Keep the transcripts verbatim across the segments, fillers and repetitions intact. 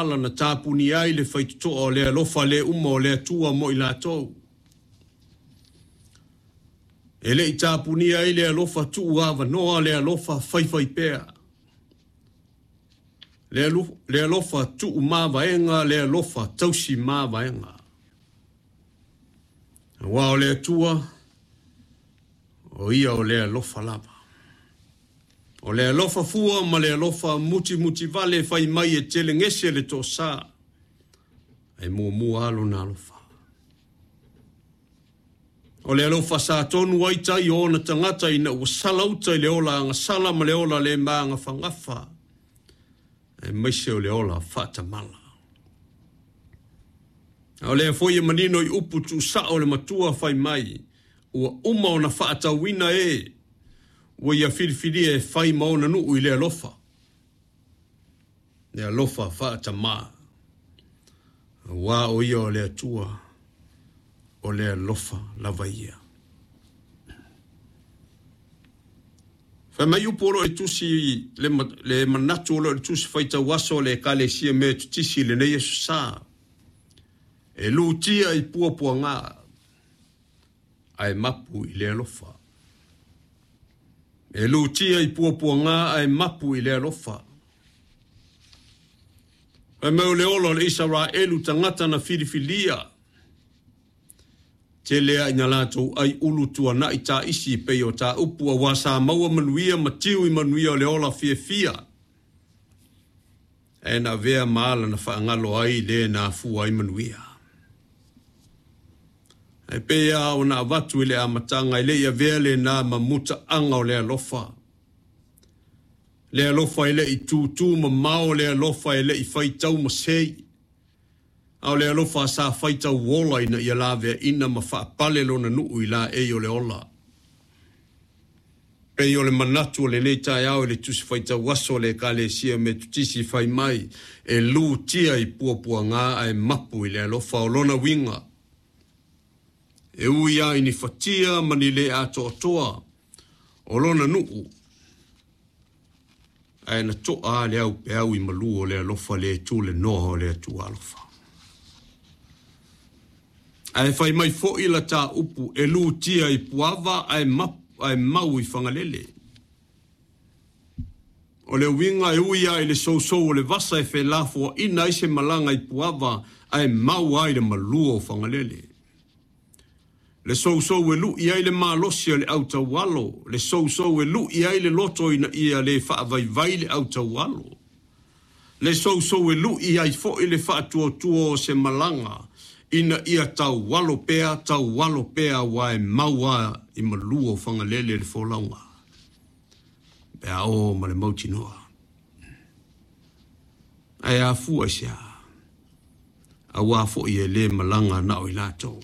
ala na tapunia ai le faitotoa o le alofa le uma o le Atua mo i latou. E le i tapunia ai le alofa tuu avanoa, le alofa faifai pea. Le, le alofa tuu mavaega, le alofa tausi mavaega. Aua o le Atua, o ia o le alofa lava. O le alofa fua ma le alofa muti muti vale fai mai e telegese le tosa. Ai muamua alo na alofa. O le alofa sa tonu ai tai o ona tagata ina ua sala uta i le ola agasala ma le ola le magafagafa. E maise o le ola faatamala. A o lea foi e manino i upu tuusao le matua fai mai, ua uma ona faatauina e, ua ia filifilia e fai ma ona nuu i le alofa. Le alofa faatamā. Aua o ia o le Atua, o le alofa lava ia. Fai mai upu o loo e tusi le, le manatu o loo e tusi faitau aso le Ekalesia Metotisi lenei aso sa. E lutia i puapuaga ae mapu i le alofa. E lutia i puapuaga ae mapu i le alofa. Fai mai o le ola o le Isaraelu tagata na filifilia. Tele a ina latou ai ulu tuanai ta isi pei o ta upu a wasa maua manuia matiu i manuia o le ola fiafia. E na vea maala na whaangalo ai le na afua ai manuia. E pea o na avatu i le amatanga i le ia vea le na mamuta anga o le alofa. Le alofa i le i tūtū mamao, le alofa i le i whaitau masei. A o le alofa sa whaitau ola ina ia lavea ina ma whaapale lona nuu i la e o le ola. Pei o le manatu o le nei taeao i le tusi whaitau aso le Ekalesia Metotisi fai mai e lutia i puapuaga ae mapu i le alofa o lona winga. E ui ai ni fatia ma ni le atoatoa o lona nuu. Ae na toa le au peau i malu o le alofa le tu le noa o le Atua alofa. Ae fai mai foi la tā upu e lutia i puava ae, map, ae mau i whangalele. O le winga e ui ai le sousou o le vasa e felafua ina i se malanga i puava ae mau ai le malua o whangalele. Le sousou e lui ai le malosi o le autaualo. Le sousou e lui ai le loto ina ia le whaavaivai le autaualo. Le sousou e lui ai foi le whaatuatua o se malanga. Ina ia taualo pea, taualo pea wa e maua i malua o whangalele le folauga. Pea o ma le mautinoa. Ae afua i se a. Aua foi e le malanga na o i latou.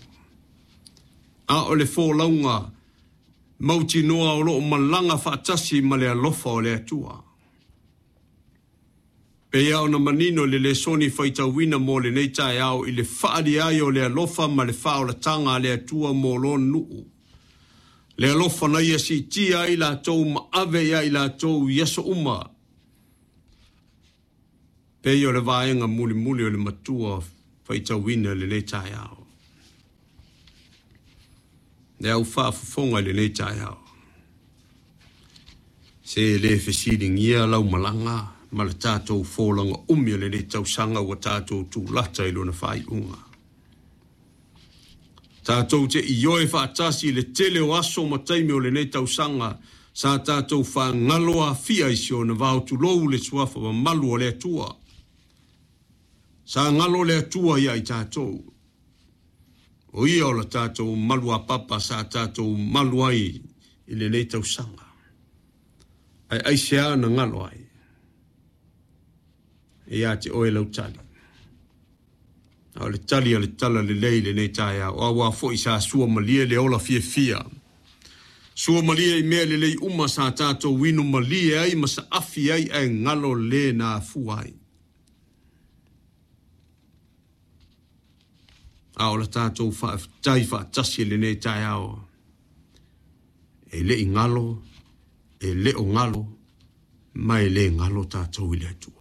A o le folauga mautinoa o loo malanga faatasi ma le alofa o le Atua. Pea ona manino le lesoni faitauina mo lenei taeao i le faali ai o le alofa ma le faaolatanga a le Atua mo lona nuu. Le alofa na ia siitia ai latou ma ave ia i latou i aso uma. Pei o le vaega mulimuli o le matua faitauina lenei taeao. Le au faafofoga i lenei taeao. Se le fesiligia lau malaga ma le tātou fōlaga umi o lenei tausaga ua tātou tūlata i lona faaiuga. Tātou te ioe faatasi i le tele o aso ma taimi o lenei tausaga sa tātou whaangalo afia i si ona vaotulou le suafa mamalu o le Atua. Sa ngalo le Atua ia i tātou. O ia o la tātou malu a papa sa tātou malu ai i lenei tausaga. Ai ai se ana ngalo ai. E ia te oe lau tali. A o le tali a le tala le lei lenei taeao. O aua foi sa sua malie le ola fiafia. Sua malie i mea lelei uma sa tātou inu malie ai ma sa afi ai ae ngalo le na afua ai. A o la tātou faafetai faatasi lenei taeao. E le i ngalo, e le o ngalo, ma e le ngalo tātou i le Atua.